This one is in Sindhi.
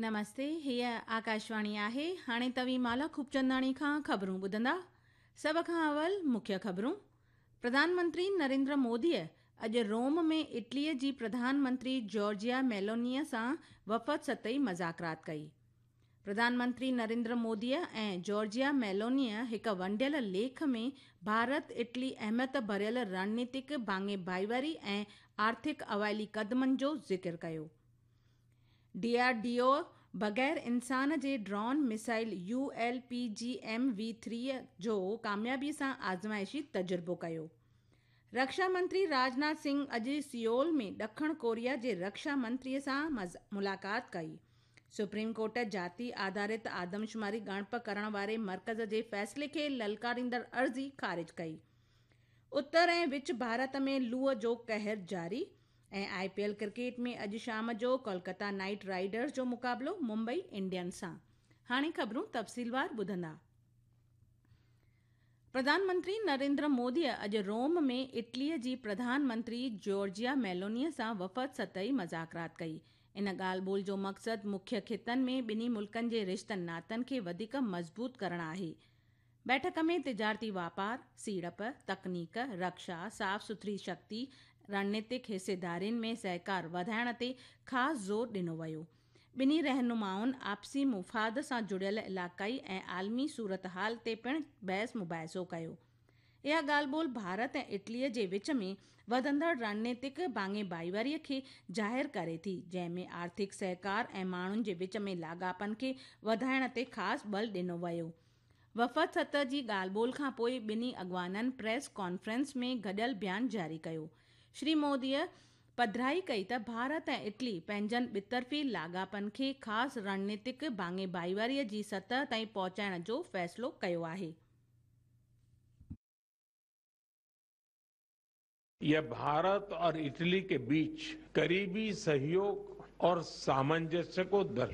نمستي، هيء آڪاشواڻي آهي. هاڻي توهين مالا خوبچنداڻي کان خبرون ٻڌندا. سڀ کان اول مکيه خبرون. پرڌان منتري نريندر موديء اڄ روم ۾ اٽليء جي پرڌان منتري جارجيا ميلونيء سان وفد سطحي مذاڪرات ڪئي. پرڌان منتري نريندر موديء ۽ جارجيا ميلونيء هڪ ونڊيل ليک ۾ ڀارت اٽلي اهميت ڀريل رڻنيتڪ ڀاڱي ڀائيواري ۽ آرٿڪ اوائلي قدمن جو ذڪر ڪيو. ڊي آر ڊي او بغير انسان جي drone missile U L P G M V three جو ڪاميابي سان آزمائشي تجربو ڪيو. رڪشا منتري راجناٿ سنگهه اڄ سيئول ۾ ڏکڻ ڪوريا جي رڪشا منتري سان ملاقات ڪئي. سپريم ڪورٽ جاتي آڌارت آدمشماري ڳڻپ ڪرڻ واري مرڪز جي فيصلي کي للڪاريندڙ عرضي خارج ڪئي. اتر ۽ وچ ڀارت ۾ لوء جو قهر جاري ۽ آء پي ايل ڪرڪيٽ ۾ اڄ شام جو ڪولڪتا نائيٽ رائيڊرز جو مقابلو ممبئي انڊينز سان. هاڻي خبرون تفصيلوار ٻڌندا. پرڌان منتري نريندر موديء اڄ روم ۾ اٽليء جي پرڌان منتري جارجيا ميلونيء سان وفد سطحي مذاڪرات ڪئي. ان ڳالهه ٻولهه جو مقصد مکيه خطن ۾ ٻنهي ملڪن جي رشتن ناتن کي وڌيڪ مضبوط ڪرڻ آهي. بيٺڪ ۾ تجارتي واپار، سيڙپ، تڪنيڪ، رڪشا، صاف سٿري شڪتي، رڻنيتڪ حصيدارين ۾ سهڪار وڌائڻ تي خاص زور ڏنو ويو. ٻنهي رهنمائن آپسي مفاد سان جڙيل علائقائي ۽ عالمي صورتحال تي پڻ بحث مباحثو ڪيو. اها ڳالهه ٻولهه ڀارت ۽ اٽلي جي وچ ۾ وڌندڙ رڻنيتڪ ڀاڱي ڀائيواري کي ظاهر ڪري ٿي، جنهن ۾ آرٿڪ سهڪار ۽ ماڻهن جي وچ ۾ لاڳاپن کي وڌائڻ تي خاص ٻل ڏنو ويو. وفد سطح جي ڳالهه ٻولهه کان پوء ٻنهي اڳواڻن پريس ڪانفرنس ۾ گڏيل بيان جاري ڪيو. شري موديء پڌرائي ڪئي ته ڀارت ۽ اٽلي پنهنجن ٻطرفي لاڳاپن کي خاص رڻنيتڪ ڀاڱي ڀائيواري جي سطح تائين پهچائڻ جو فيصلو ڪيو آهي. यह भारत और इटली के बीच करीबी सहयोग और सामंजस्य को दर्शाता